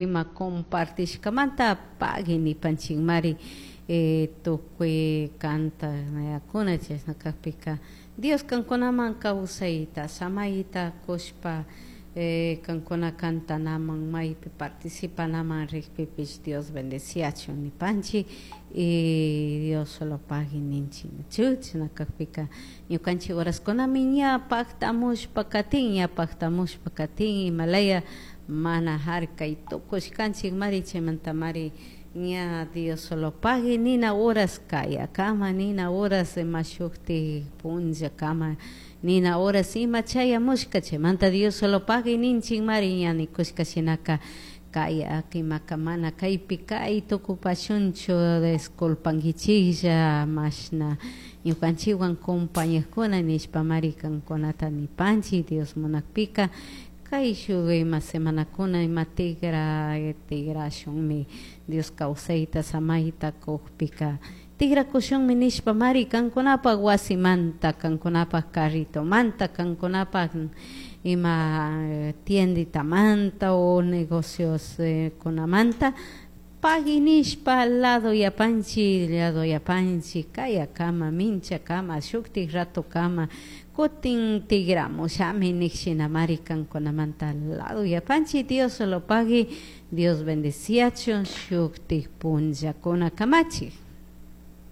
Ima compartishkamanta pagui nipanchikmari tukuy kantakuna. Chashna kakpika Dios kankunaman kawsayta samayta kushpa, kankuna kantanaman maypi participanaman rikpipish Dios bendeciachun nipanchik y Dios solo pagui ninchik. Chashna kakpika ñukanchik horaskunami ña paktamushpa katin, ña paktamushpa katin, imalaya mana harkay tukushkanchik mari. Chaymantamari ña Dios solo pagui nina horas kayakama, nina horas ima shuktik punllakama, nina horas ima chayamushka. Chaymanta Dios solo pagui ninchik mari. Ña nikushka shinaka kaya imaka mana kaypi kay tukupashunchu, disculpankichiklla mashna ñukanchikwan compañakuna nishpa mari kankunata nipanchik. Dios munakpika kay shuk ima semanakuna ima tigra tigrashunmi, Dios kawsayta samayta kukpika tigrakushunmi nishpa mari kankunapak wasimanta, kankunapak carritomanta, kankunapak ima tienditamanta o negocios kunamanta pagui nishpa lado yapanchik, lado yapanchik kayakama, minchakama, shuktik ratokama kutin tigramushami nik shinamari kankunamanta lado yapanchik. Dios solo pagui, Dios bendeciachun shuktik punllakuna kamachik.